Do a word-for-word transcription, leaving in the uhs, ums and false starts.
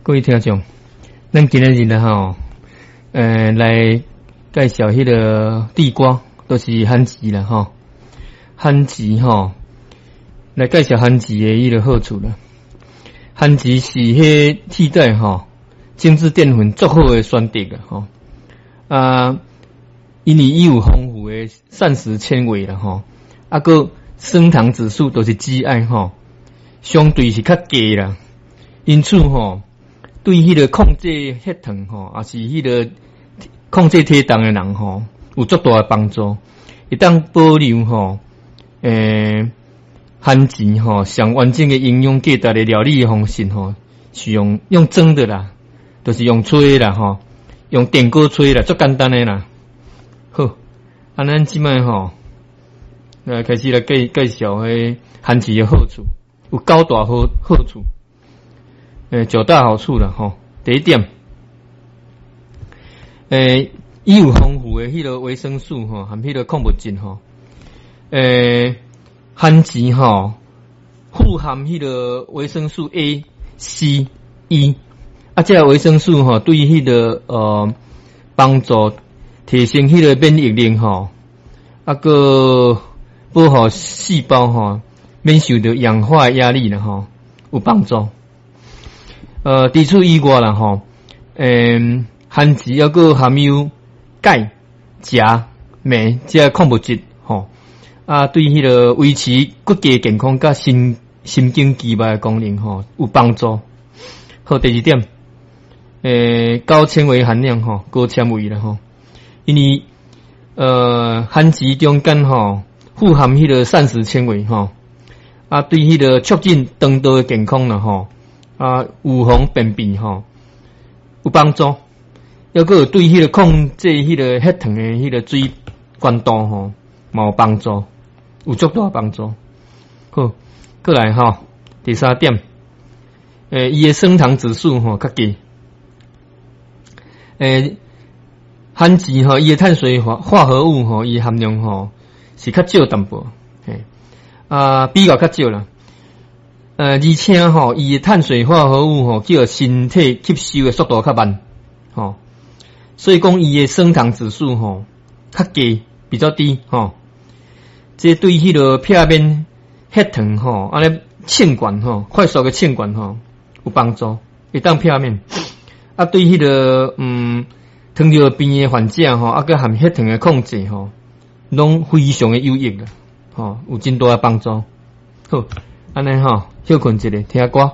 各位聽眾，咱今仔日咧吼，呃，來介紹彼个地瓜，就是番薯啦吼。番薯吼，來介紹番薯的彼个好處啦。番薯是彼替代吼精緻澱粉足好的選擇啊吼。啊，因為伊有豐富的膳食纖維啦吼，啊，閣升糖指數都是 G I 吼，相對是較低啦。因此吼，對彼个控制血糖吼，抑是彼个控制體重的人吼，有足大的幫助。會當保留吼，欸，番薯吼上完整的營養價值的料理的方式吼，是用用蒸的啦，就是用炊的啦吼，用電鍋炊啦，足簡單的啦。好，啊，咱這擺吼，來開始來介介紹彼番薯的好處，有九大好好處。欸，九大好處啦吼。第一點，欸，伊有豐富的彼个維生素吼，含彼个礦物質吼。欸，番薯吼富含彼个維生素 A、C、E，啊，這个維生素吼對彼个呃幫助提升彼个免疫力吼，啊，閣保護細胞吼免受著氧化壓力啦吼，有幫助。呃，除此以外啦吼，欸，番薯猶閣含有鈣、鉀、鎂這礦物質吼，啊，對彼个維持骨骼健康佮神神經肌肉的功能吼有幫助。好，第二點，欸，高纖維含量吼，高纖維啦吼，因為呃，番薯中間吼富含彼個膳食纖維吼，啊，對彼个促進腸道的健康啦吼，啊，預防便秘吼有幫助，猶閣有對彼个控制彼个血糖的彼个水懸度吼嘛有幫助，有足大幫助。好，過來吼，第三點，欸，伊的升糖指數吼較低，欸，番薯吼，伊的碳水化化合物吼，伊含量吼是較少淡薄，嘿，啊，比較較少啦。呃，而且吼，伊的碳水化合物吼，叫身體吸收的速度較慢，吼，所以講伊的升糖指數吼較低，比較低，吼。這對彼个避免血糖吼，按呢衝懸吼，快速的衝懸吼有幫助，會當避免。啊，對彼个嗯糖尿病的患者吼，啊，閣含血糖的控制吼，攏非常的有益啦，吼，有真大的幫助。好，按呢吼，歇睏一下，聽歌。